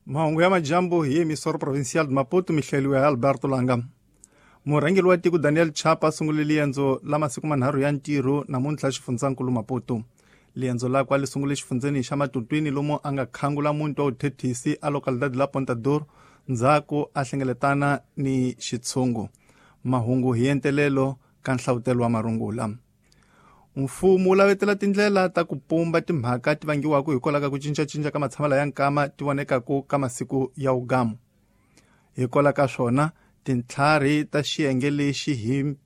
Mahungu ya majambu hi emisoro provincial de Maputo mihleliwe ya Alberto Langa. Murhangeri wa tiko Daniel Chapa a sungule liendzo la masiku manharhu ya ntirho namuntlha xifundzankulu Maputo. Liendzo lakwe a li sungule xifundzeni xa Matutwini lomu a nga khangula muti wa vuthethisi a localidade la Ponta Dor ndzhaku a hlengeletana ni xitshungu. Mahungu hi entelelo ka nhlavutelo wa marungula. Mfumo wu lavetela tindlela ta ku pumba timhaka ti vangiwaka hikwalaho ka ku cincacinca ka matshamelo ya nkama ti vonekaku ka masiku ya wugamu. Hikwalaho ka swona, tintlhari ta xiyenge lexi hi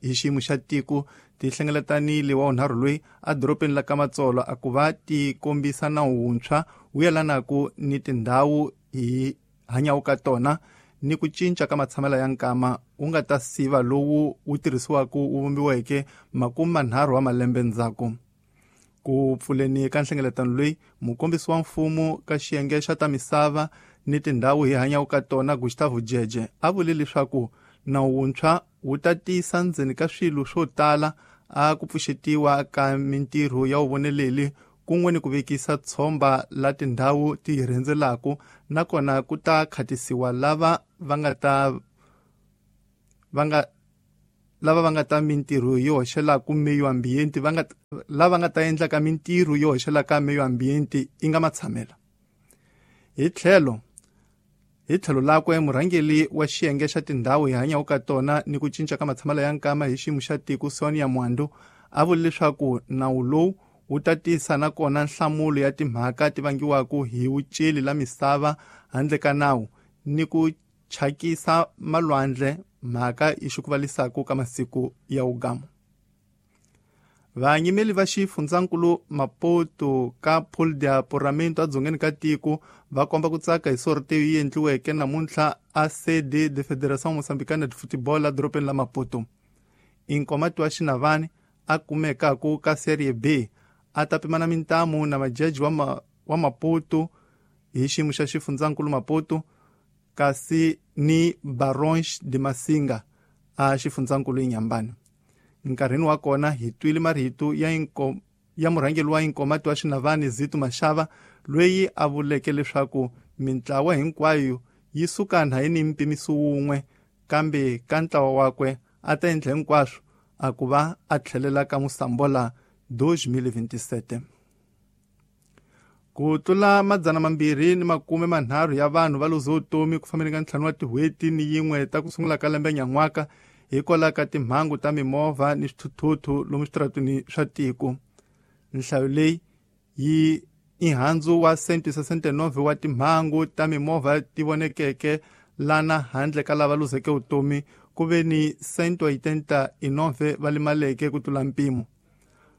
hi xiyimo xa tiko ti hlengeletanile wa vunharhu loyi edorobeni la Kamatsolo a ku va ti kombisa nawu wuntshwa wu yelanaku ni tindhawu hi hanyaku ka tona ni ku cinca ka matshamelo ya nkama wu nga ta siva lowu wu tirhisiwaka wu vumbiweke 30 wa malembe ndzhaku. Ku pfuleni ka nhlengeletano leyi, mukombisi wa mfumo ka xiyenge xa ta misava ni tindhawu hi hanyaka ka tona Gustavo Jeje a vule leswaku nawu wuntshwa wu ta tisa ndzeni ka swilo swo tala a ku pfuxetiwa ka mintirho ya vuvoneleli kun'we ni ku vekisa tshomba la tindhawu ti hi rhendzelaku nakona ku ta khatisiwa lava va nga ta va nga lava va nga ta mintirho yo hoxelaka meyo ambiente va nga lava nga ta endlaka mintirho yo hoxelaka meyo ambiente yi nga matshamela. Hi tlhelo lakwe murhangeri wa xiyenge xa tindhawu hi hanyaka ka tona ni ku cinca ka matshamelo ya nkama hi xiyimo xa tiko Sonia Mwandu a vule leswaku nawu lowu wu ta tisa nakona nhlamulo ya timhaka ti vangiwaka hi vuceli la misava handle ka nawu ni ku chakisa malwandle mhaka yi xukuvalisaka ka masiku ya wugamu. Vayimeli va xifundzankulu Maputo ka Pool de Apuramento edzongeni ka tiko va komba ku tsaka hi sorteyo yi endliweke namuntlha a sede de Federação Moçambicana de Futebol edorobeni la Maputo. Inkomati wa Xinavani a kumekaku ka Serie B a ta pimana mintamu na majaji wa Maputo hi xiyimo xa xifundzankulu Maputo kasi ni Barões de Massinga a xifundzankulu Inhambane. Nkarhini wa kona hi twile marito ya murhangeri wa Inkomati wa Xinavani Zito Mashava loyi a vuleke leswaku mintlawa hinkwayo yi suka nhayi ni mpimiso wun'we kambe ka ntlawa wakwe a ta endla hinkwaswo a ku va a tlhelela ka Mosambola 2027. Ku tlula 230 ya vanhu va luze vutomi ku fambeni ka 5 wa tin'hweti ni yin'we ta ku sungula ka lembe nyan'waka hikwalaho ka timhangu ta mimovha ni swithuthuthu lomu switarateni swa tiko. Nhlayo leyi yi i handzu wa 169 wa timhangu ta mimovha ti vonekeke lana handle ka lava luzeke vutomi ku ve ni 189 va limaleke ku tlula mpimo.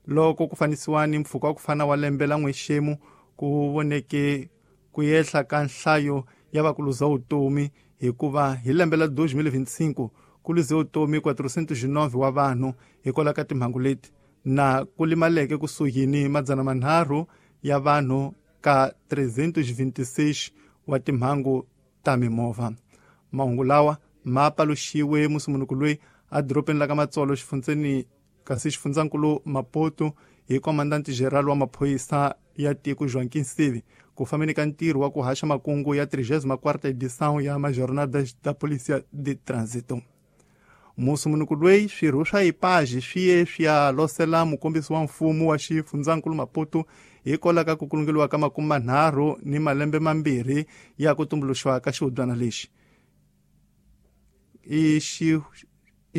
Loko ku fanisiwa ni mpfhuka wa ku fana wa lembe la n'wexemu ku voneke ku yehla ka nhlayo ya va ku luza vutomi hikuva hi lembe la 2025 ku luze vutomi 409 wa vanhu hikwalaho ka timhangu leti na ku limaleke kusuhi ni 300 ya vanhu ka 326 wa timhangu ta mimovha. Mahungu lawa ma paluxiwe musumunuku loyi edorobeni la ka Matsolo xifundzeni kasi xifundzankulu Maputo hi komandante general wa maphorisa ya tiko Joaquim Sivi ku fambeni ka ntirho wa ku haxa makungu ya 34ª edição ya Majornadas da Polícia de Trânsito. Musumunuku loyi swirho swa IPAJ swi ye swi ya losela mukombisi wa mfumo wa xifundzankulu Maputo hikwalaho ka ku kulungeliwa ka 30 ni malembe mambirhi ya ku tumbuluxiwa ka xihubyana lexi. I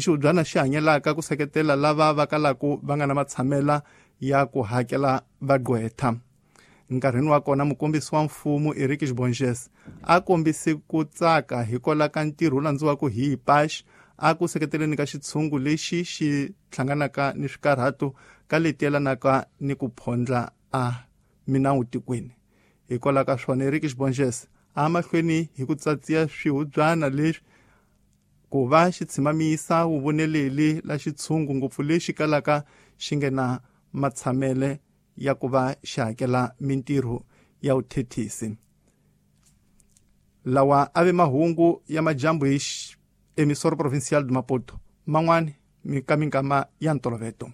xihubyana xi hanyelaka ku seketela lava va kalaku va nga na matshamela ya ku hakela vagqwetha. Nkarhini wa kona mukombisi wa mfumo Eric Bonges a kombise ku tsaka hikwalaho ka ntirho wu landziwaka hi IPAJ a ku seketeleni ka xitshungu lexi xi hlanganaka ni swikarhato ka leti yelanaka ni ku phondla a minawu tikweni. Hikwalaho ka swona Eric Bonges a mahlweni hi ku tsatsiya swihubyana leswi ku va xi tshimamisa vuvoneleli la xitshungu ngopfu lexi kalaka xi nga na matshamele ya ku va xi hakela mintirho ya vuthethisi. Lawa a ve mahungu ya majambu hi emisoro provincial de Maputo man'wani ka minkama ya ntoloveto.